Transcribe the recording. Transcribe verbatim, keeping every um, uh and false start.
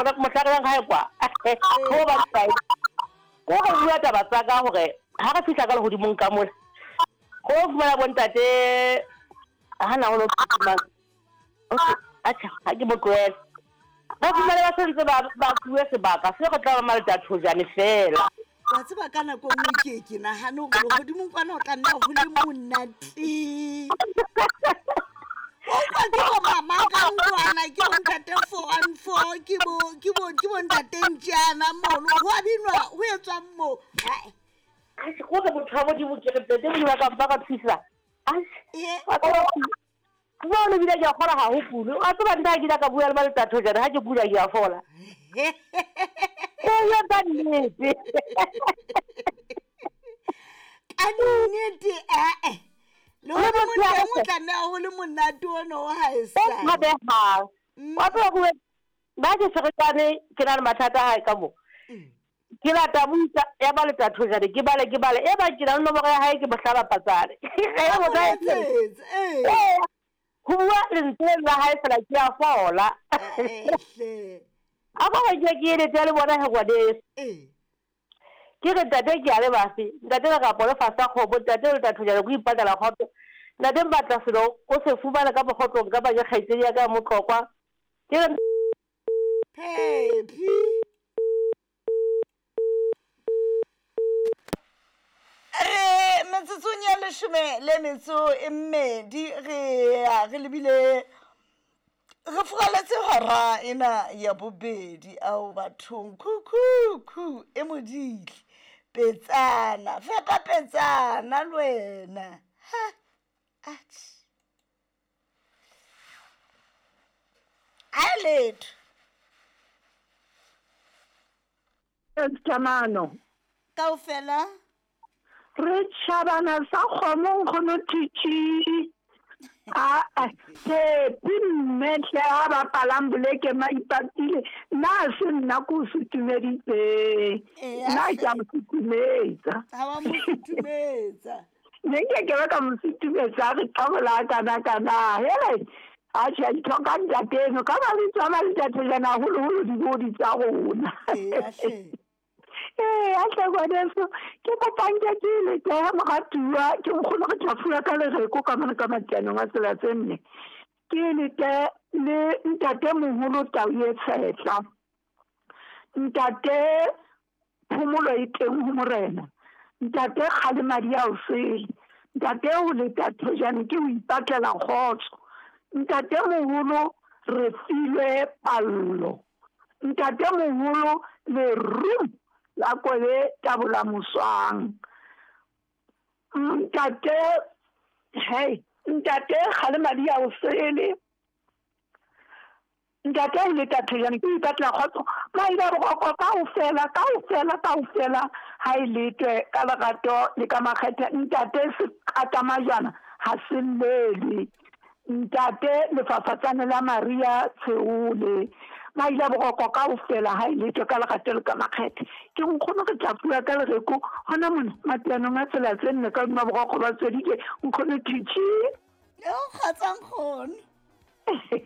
Gona mohla re yang gae kwa go ba kae go go bua taba tsa ka gore ga re fitlha ka legodimong ka mola go fumana bontate ga na go atjha ga ke mo tlohele ba fumane ba sentse ba ba fuwe sebaka se go tla ba maletathojane fela. Wa tseba ka nako nngwe ke ke nagane gore legodimong kwana o tla nna go le monate. O kwa ke bo mama ka ntlwana ke bo ntate four one four ke bo ke bo ke bo ntate ntjana mono ho a binwa ho etswang moo. Hai. Go re motho wa Modimo ke re ntate Modimo a ka mpa ka thusa. Jwale ebile ke a kgola ga ho pule. Wa tseba nna ke ile ka bua le maletathojane ha ke kula ke a fola. Eya ka nnete. Ka nnete eh. Le hore motho o tla nna ho le monate ono wa haesale. O tshabehang. Wa tseba bua ba ke ferekane ke na le mathata a hae ka mo. Ke lata buka ya maletathojane ke bale ke bale e ba ke na le nomoro ya hae ke mo hlaba patsane. E mo tla eh. Ho bua lentswe la hae fela ke a fola. A ba ke ke eletse le bona he ngwaneso. Ke re ntate ke a le bafe ntate re ka polo fasa kgomo ntate le tathojane ko ipatala kgotso ntate mbatla selo o se fumana ka mogotlong ka ba ke kgaitsedi ya ka motlokwa ke re Phephi re metsotsong ya leshome le metso e mmedi re ya re lebile re furaletse hora ena ya bobedi ao bathong khukhu e modile petsana fepa petsana le wena ha atjhe a letho Kamano kaofela re tšhabana sa kgomo nkgono thitši a Tshepi mme hle a bapalang boleke maipatile nna a se nna ko o sutumeditseng nna ke a mo sutumetsa ha wa mo sutumetsa ne nke ke ba ka mo sutumetsa a re qabola kana-kana hele atjhe a ditlhoka ntate eno ka mabitso a maletathojana haholoholo dibodi tsa rona. Ee, a hle ngwaneso ke kopang ke ke leteha moratuwa ke nkgono re tla fuwa ka lereko ka mona ka matianong a tsela tse nne. Ke lete le ntate moholo Tau e Tshetla. Ntate phomolo e teng ho morena. Ntate Kgalemadi a o sele. Ntate o letathojane ke o ipatlela kgotso. Ntate moholo re filwe pallo. Ntate moholo leru la kole tabola moswang. Ntate hey ntate Kgalemadi a o sele. Ntate o letathojane ke ipatlela kgotso. Maila boroko kaofela kaofela kaofela ha e letwe ka lerato le ka makgethe. Ntate seqatamajana ha se llele. Ntate lefafatsane la Maria Tsheole. Maila boroko kaofela ha e letwe ka lerato le ka makgethe. Ke nkgono re tla bua ka lereko hona mona matianong a tsela tse nne ka hodima boroko ba tswedike nkgono thitši. Yo kgotsa nkgono.